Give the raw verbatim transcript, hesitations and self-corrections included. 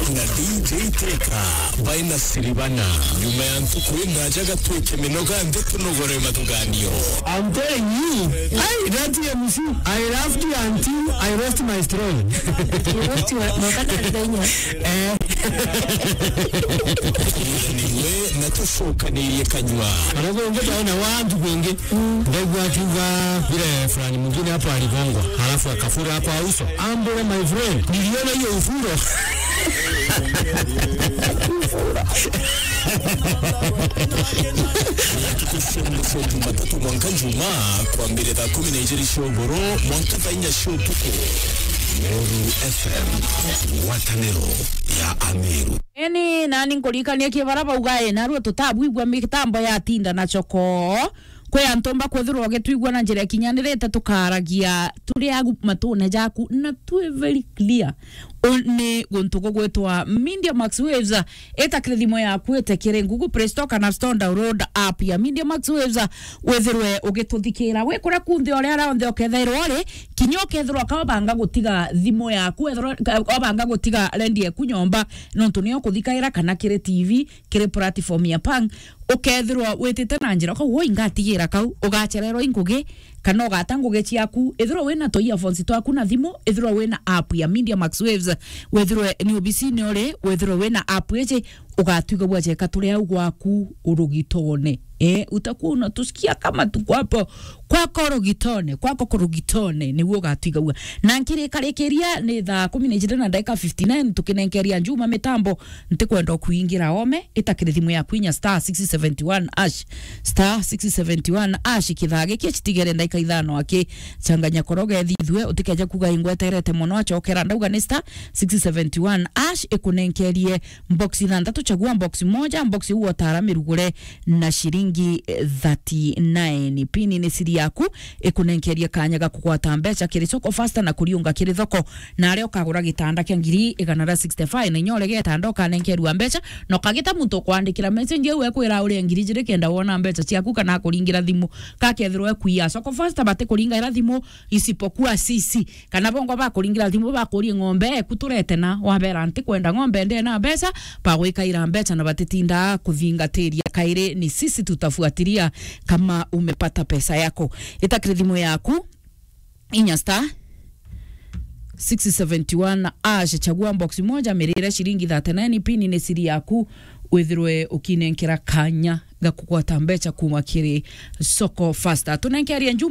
Na D J Teka baina Siribana. Nyuma ya ntuku indaja gatwike minoga nthi tunogore mathuganio. I'm telling you, I, that M C, I laughed until I lost my throne. You lost your, no, kana ndenya. Eh. Niwe na tucokanirie kanyua. Alafu unge taona watu wengi. Ndaigua akiuga vile fulani mwingine hapo aligongwa, halafu akafura kwa uso. Ambole, my friend, niliona hiyo ufuro. Tukushukuru Jumatatu mwanka Juma, kwambire thaa kumi na ijiri cia ugoro mwanka thaa inya cia utuku. Meru F M, ngwataniro ya Ameru. Eni, nani nkuririkanie kibara bauga, e, narua tutabwigua mitambo ya tinda na choko. Kwi antu mba kwithirwa ugitwigua na njira ikinyanirite, tukaragia turi agu matune jaku na twi very clear. U-, ni guntu gugwitwa Media Max Waves. Ita kiri thimu yaku, ite kiri Google Play Store kana App Store, download app ya Media Max Waves, withirwe ugituthikira. Wi kuria kunthe, uria ara onthe ukethairwa uri, kinya ukethirwa ka obanga gutiga thimu yaku, ethirwa ka obanga gutiga rendi yaku nyomba, nontu niyo kuthikaira kana kiri T V, kiri platform ya Pang, ukethirwa witite na njira, ukauga, "Ui, ngatigira kau," ugachererwa i ngugi, kana ugata ngugi ciaku. Ethirwa wina tu earphones twaku na thimu, ethirwa wina app ya Media Max Waves, wethirwe ni obisine uri, wethirwe wina app iji, ugatwigagua jeka turi au gwaku urugitone. Eh, utakuwa unatusikia kama tuko hapo kwako rugitone, kwako kurugitone, niguo ugatwigagua. Na nkirikarikiria ni thaa kumi na ijiri na ndagika fifty-nine, tukinenkeria Juma mitambo, ntikwenda kuingira ome, ita kiri thimu yaku inya star six seventy one hash, star six seventy one hash, kithaa giki chitigere ndagika ithano aki, changanya koroge thithue, utikeje kuga ingweterete mono, achokera ndauga ni star six seventy one hash, ikunenkerie box ithanthatu, chagua box moja, box iu otara mirugure na shiringi, eh, thirty-nine. Pini ni siri yaku, ikunenkerie kanya ga kugwata mbecha kiri Soko Fasta na kuriunga kiri thoko. Na aria ukagura gitanda kia ngiri igana ria sixty-five, na inya uria gitanda ukanenkerua mbecha, na ukagita muntu ukwandikira message au ekwira urie ngiri ijiri kenda wona mbecha ciaku kana akuringira thimu. Kakethirwa ekwiya Soko Fasta, batikuringaira thimu, isipokuwa sisi. Kana bongo bakuringira thimu bakurie ng'ombe eku turete na, wabera, "Ntikwenda ng'ombe, ndena mbecha," bagwikaira mbecha na batitinda kuthingatiria. Kairi ni sisi tutafuatilia kama umepata pesa yako. Ita kiri thimu yaku, inya star six seventy one hash, chagua box moja, mirire shiringi thirty-nine, pini ni siri yaku, withirwe ukinenkera kanya ga kugwata mbecha kuma kiri Soko Fasta. Tunenkerie Juma